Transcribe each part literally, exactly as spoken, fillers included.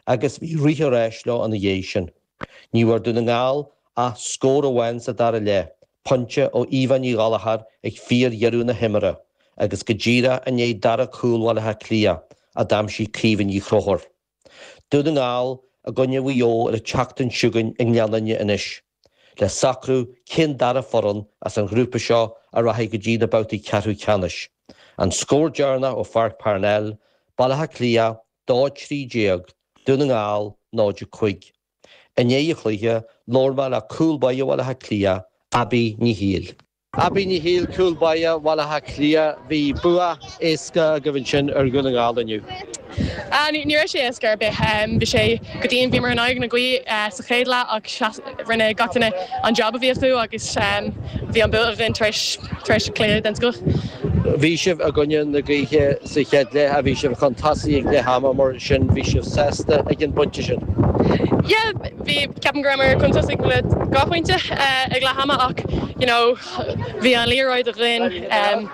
agus bhí rith ar ais leo ina dhiaidh sin. Ní bhfuair Dún na nGall ach scór amháin sa dara leath, pointe ó Aoibheann Ní Ghallchóir ag fíordheireadh na himeartha agus go díreach i ndiaidh dara cúl Bhaile Átha Cliath a d'aimsigh Caoimhe Ní Chonchúir. Dún na nGall i gcoinne Mhaigh Eo ar an tseachtain seo chugainn i nGleann Fhinne anois, le socrú cén dara foireann as an ghrúpa seo a rachaidh go dtí na babhtaí ceathrú ceannais. An scór deireanach ó Pháirc Parnell, Baile Átha Cliath, dó trí déag, Dún na nGall, náid a cúig. I ndiaidh an chluiche, labhair mé le cúl báire Bhaile Átha Cliath, Abbie Ní Shiail. Abbie Ní Shiail, cúl báire Bhaile Átha Cliath, bhí bua éasca agaibh ansin ar Dhún na nGall inniu. Ní raibh sé éasca ar bith. Bhí sé go dian bhíomar in aghaidh na gaoithe sa chéad leath ach rinne gach duine an job a bhí acu agus bhí an bua againn tar éis tar éis cluiche den scoth. Bhí sibh i gcoinne na gaoithe sa chéad leath a bhí sibh chun tosaigh ag leath ama mar sin bhí sibh sásta ag an bpointe sin. Yeah, bhí ceapaim go rabhamar chun tosaigh le dhá phointe ag leath ama ach you know, bhí an liathróid againn um,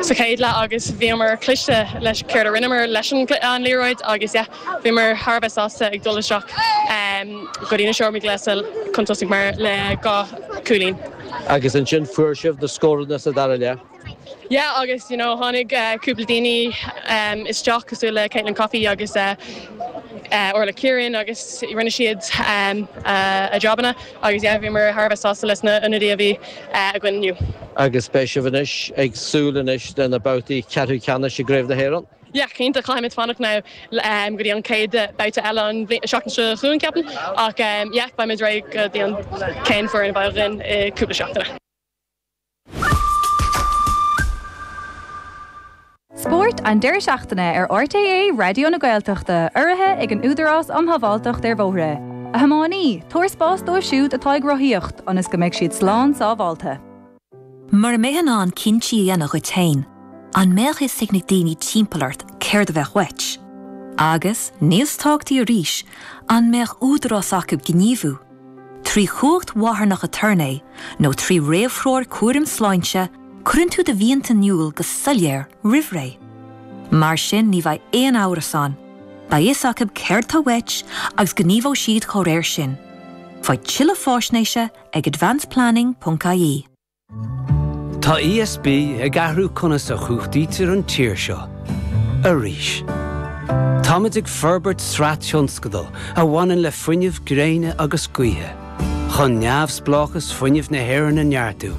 sa chéad leath agus bhíomar cliste leis céard a rinneamar leis an liathróid agus yeah, bhíomar thar a bheith sásta ag dul isteach um, go dtí na seomraí gléasa chun tosaigh mar le dhá chúilín. Agus ansin fuair sibh na scóranna sa dara leath. Yeah, agus you know, tháinig uh, cúpla daoine um, isteach cosúil le Caitlin Coffey agus uh, uh, Orla Kieran agus rinne siad um, uh, a jobanna agus yeah, bhíomar thar a bheith sásta leis na ionadaí a bhí uh, againn inniu. Agus beidh sibh anois ag súil anois le na babhtaí ceathrú ceannais i gCraobh na hÉireann. Yeah, cinnte caithfimid fanacht now um, go dtí an chéad babhta eile an seachtain seo chugainn ceapaim ach um, yeah, beimid réidh go dtí an chéad foireann a bheidh againn i cúpla seachtaine. Spórt an deireadh seachtaine ar RTÉ Raidió na Gaeltachta, urraithe ag an Údarás um Shábháilteacht ar Bhóithre. A thiománaí, tabhair spás dóibh siúd atá ag rothaíocht ionas go mbeidh siad slán sábháilte. Mura mbeifeá in ann cinntí a dhéanamh duit féin, an mbeadh fhios ag na daoine timpeall ort céard a bheadh uait? Agus, níos tábhachtaí arís, an mbeadh údarás acu gníomhú? Trí chumhacht mharthanach aturnae nó trí réamhthreoir cúraim sláinte, cuireann tú do mhianta in iúl go soiléir roimh ré. Mar sin ní bheidh aon amhras ann. Beidh fhios acu céard atá uait agus gníomhóidh siad dá réir sin. Faigh tuilleadh faisnéise ag advanceplanning.ie. Tá ESB ag athrú conas a chumhachtaítear an tír seo. Arís. Táimid ag forbairt sraith tionscadal a bhaineann le fuinneamh gréine agus gaoithe, chun neamhspleáchas fuinnimh na hÉireann a neartú,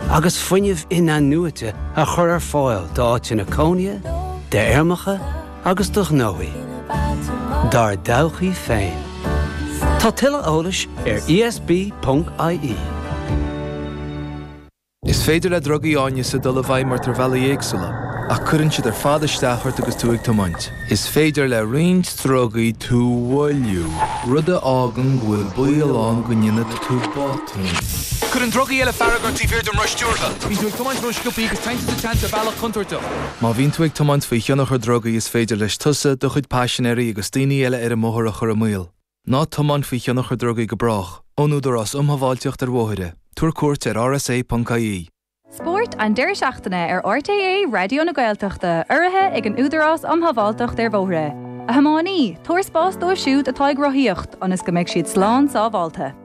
agus fuinneamh in-athnuaite a chur ar fáil d'áiteanna cónaithe, d'fheirmeacha agus do ghnóthaí. Dár dtodhchaí féin. Tá tuilleadh eolais ar ESB.ie. Is féidir le drugaí áineasa dul i bhfeidhm ort ar bhealaí éagsúla, ach cuireann siad ar fad isteach ort agus tú ag tiomáint. Is féidir le roinnt drugaí tú a mhoilliú, rud a fhágann go bhfuil baol ann go ndéanfaidh tú botún. Cuireann drugaí eile fearg ort taobh thiar den roth stiúrtha. Bíonn tú ag tiomáint ró-sciobtha agus téann tú sa tseans ar bhealach contúirteach. Má bhíonn tú ag tiomáint faoi thionchar drugaí is féidir leis tusa, do chuid paisinéirí agus daoine eile ar an mbóthar a chur i mbaol. Ná tiomáin faoi thionchar drugaí go brách, ón Údarás um Shábháilteacht ar Bhóithre. Tabhair cuairt ar rsa.ie. Spórt an deireadh seachtaine ar RTÉ Raidió na Gaeltachta, urraithe ag an Údarás um Shábháilteacht ar Bhóithre. A thiománaí, tabhair spás dóibh siúd atá ag rothaíocht ionas go mbeidh siad slán sábháilte.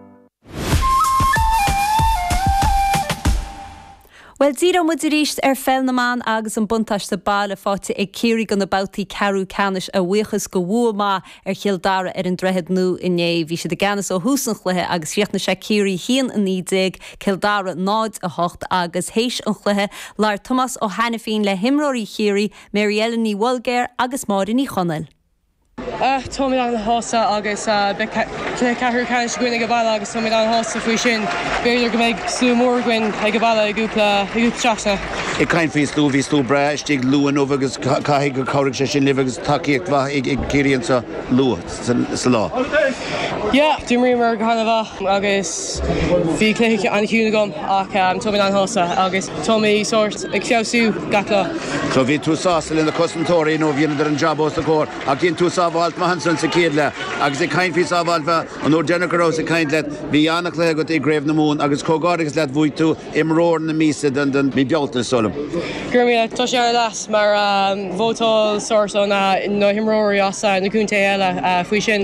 Bhuel, díreoidh muid arís ar pheil na mban agus an buntáiste baile faighte ag Ciarraí do na babhtaí ceathrú ceannais a bhuíochas do bhua maith ar Chill Dara ar an Droichead Nua inné. Bhí siad i gceannas ó thús an chluiche agus chríochnaigh sé Ciarraí a haon a naoi déag, Cill Dara náid a hocht agus théis an chluiche labhair Tomás Ó hAiniféin le himreoirí Chiarraí, Mary Ellen Ní Bhoilgéir agus Máire Ní Chonaill. Táimid an-shásta agus beidh cluiche ceathrú ceannais againn ag an baile agus táimid an-shásta faoi sin. B'fhéidir go mbeidh slua mór againn ag an baile i gcúpla seachtaine. Ag caint faoi slua, bhí slua breá istigh luath inniu agus caithfidh gur chabhraigh sé sin libh agus tacaíocht mhaith ag Ciarraí anseo luath sa lá. Yeah, d'imríomar go han-mhaith agus bhí cluiche an-chiúin agam ach táimid an-shásta agus táimid sórt ag feabhsú gach lá. So bhí tú sásta le na cosantóirí nó bhíodar an job os do chomhair ach dhein tú sábháilt maith ansan sa chéad leath agus ag caint faoi sábháilt mhaith an uair deireanach a rabhas ag caint leat bhí an-chluiche agat i gCraobh na Mumhan agus comhghairdeachas leat bhuaigh tú imreoir na míosa den den mí Bealtaine is dóigh liom. Go raibh míle. Tá sé an-deas mar vótáil sórt ó na na himreoirí as na contaetha eile faoi sin.